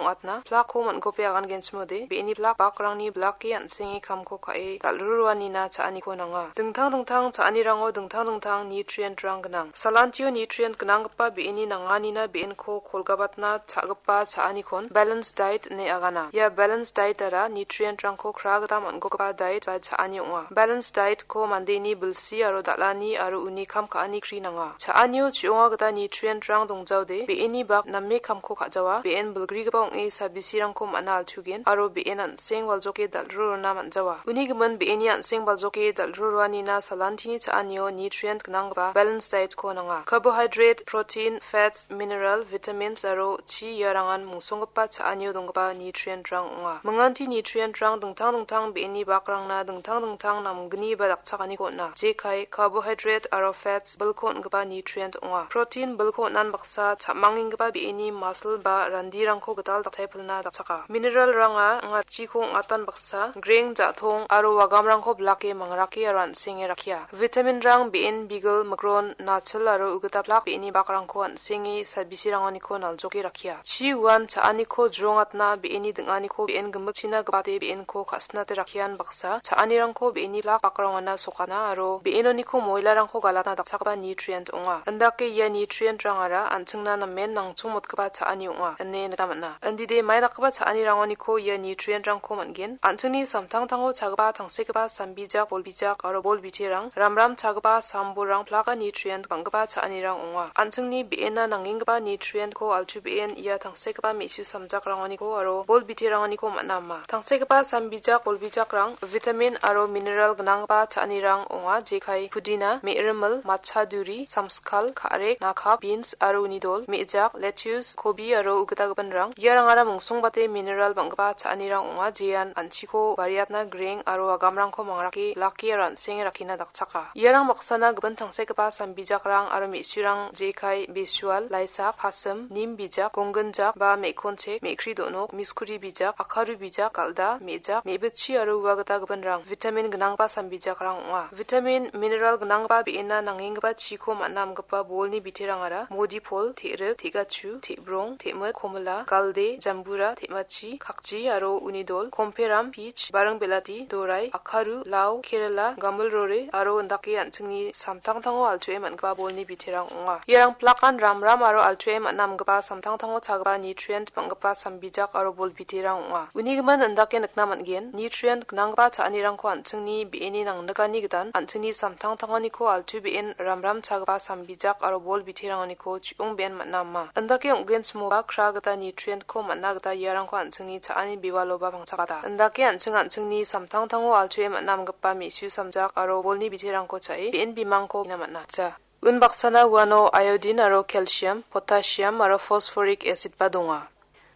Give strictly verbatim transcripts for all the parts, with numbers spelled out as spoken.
ong·atna plakko man·gope agangenchimode, be·eni plak bakrangni blake an·senge kamko ka·e dal·ruruanina cha·aniko nanga. Dingtang dingtang cha·anirango dingtang dingtang nutrient-rang gnang. Salantio nutrient gnanggipa be·eni nanganina be·enko kolgabatna cha·gipa cha·anikon balanced diet ine agana. Ia balanced diet-ara nutrient-rangko kra gita man·gogipa diet ba cha·ani ong·a. Balanced diet-ko mandeni bilsi aro dal·ani aro uni kam ka·ani kri nanga. Cha·anio chi·onga gita nutrient-rang dongjaode, be·eni bak name kamko ka·jawa, be·en bilgrigipa ong·e sabisirangko man·a altugen, aro be·en an·seng baljoke dal·rurona man·jawa. Uni gimin be·eni an·seng baljoke dal·ruruanina salantini cha·anio nutrient gnanggipa balanced diet-ko nanga. Carbohydrate, protein, fats, mineral, vitamins aro chi iarangan mungsonggipa cha·anio donggipa nutrient-rang ong·a. Minganti nutrient-rang dingtang dingtang be·eni bakrangna dingtang dingtang namgni ba dakchakaniko on·a. Jekai, carbohydrate aro fats bilko on·gipa nutrient ong·a. Protein bilko on·an baksa cha·mangenggipa be·eni muscle ba randirangko gital daktaipilna dakchaka. Mineral-ranga anga chiko ong·atan baksa, greng, ja·tong aro wagamrangko blake mangrake aro an·senge rakkia. Vitamin-rang be·en bigil, mikron, nachil aro ugita plak be·eni bakrangko an·senge sabisirangoniko naljoke rakkia. Chi uan cha·aniko jrongatna be·eni ding·aniko be·en gimikchina gipate be·enko ka·sinate rakkian baksa cha·anirangko be·eni plak bakrangona sokana aro be·enoniko moilarangko galatna dakchakgipa nutrient ong·a. Indake ia nutrient-rangara an·chingna namen nangchongmotgipa cha·ani ong·a ine nikna man·a. Indide mai dakgipa cha·anirangoniko ia nutrient-rangko man·gen. An·chingni samtangtango chagipa tangsekgipa sambijak, bolbijak aro bol biterang, ramram chagipa sambolrang plaka nutrient bang·gipa cha·anirang ong·a. An·chingni be·ena nangenggipa nutrient-ko altu be·en ia tangsekgipa me·su samjakrangoniko aro bol biterangoniko man·a ama. Tangsekgipa sambijak, bolbijakrang vitamin aro mineral gnanggipa cha·anirang ong·a, jekai pudina, me·rimil, matcha duri, samskal, ka·rek, nakap, beans aro uni dol, me·jak, lettuce, kobi aro ugita gipinrang. Iarangara mungsongbate mineral bang·gipa cha·anirang ong·a, jean an·chiko bariatna greng aro agamrangko mangrake, lake aro an·senge rakkina dakchaka. Iarang baksana gipin tangsekgipa sambijakrang aro me·surang jekai besual, laisak, pasim, nim bijak, gongginjak ba me·konchek, me·kri do·nok, miskuri bijak, akaru bijak, galda, me·jak, me·bitchi aro ua gita gipinrang vitamin gnanggipa sambijakrang ong·a. Vitamin, mineral gnanggipa be·ena nangenggipa chiko man·a amgipa bolni biterangara modipol, te·rik, te·gachu, te·brong, te·mit, komila, galde, jambura, te·machi, kakji aro uni dol, komperam, peach, baring belati, dorai, akaru, lau, kerela, gamilrore aro indake an·chingni samtangtango altuae man·gipa bolni biterang ong·a. Iarang plakan ramram aro altuae man·a amgipa samtangtango chagipa nutrient bang·gipa sambijak aro bol biterang ong·a. Uni gimin indake nikna man·gen, nutrient gnanggipa cha·anirangko an·chingni be·eni nangnikani gitan an·chingni samtangtangoniko altu be·en ramram chagipa sambijak aro bol biterangoniko chi·ong be·en man·a ama. Indake ong·genchimoba kra gita nutrient-ko man·a gita iarangko an·chingni cha·ani bewaloba pangchakata. Indake an·ching an·chingni samtangtango altue man·a amgipa me·su samjak aro bolni biterangko cha·e be·en bimangko ina man·a. Ja. Unbaksana uano iodine aro calcium, potassium aro phosphoric acid-ba donga.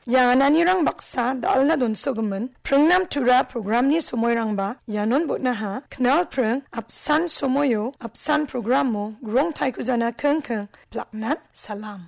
Ia ananirang baksa dal·na donsogimin pringnan tura programni somoirangba ianon bon·aha. Knalpring apsan somoio apsan programo grong taikujana kengkeng plaknan salam.